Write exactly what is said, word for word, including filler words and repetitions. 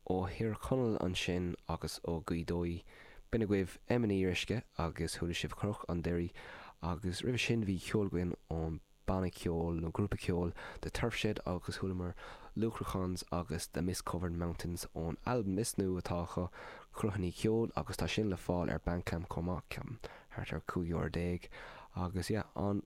Ó Thír Chonaill ansin agus ó Ghaoth Dobhair. B'in agaibh Emma Ní Fhíoruisce agus chuala sibh Cnoc an Doirí agus roimhe sin bhí ceol againn ón banna ceoil nó grúpa ceoil The Turf Shed agus chualamar Lucrachans agus The Mist Covered Mountains ón albam is nua atá acu Cruithní Ceoil agus tá sin le fáil ar Bandcamp chomh maith ceapaim thart ar cúig euro déag agus yeah, an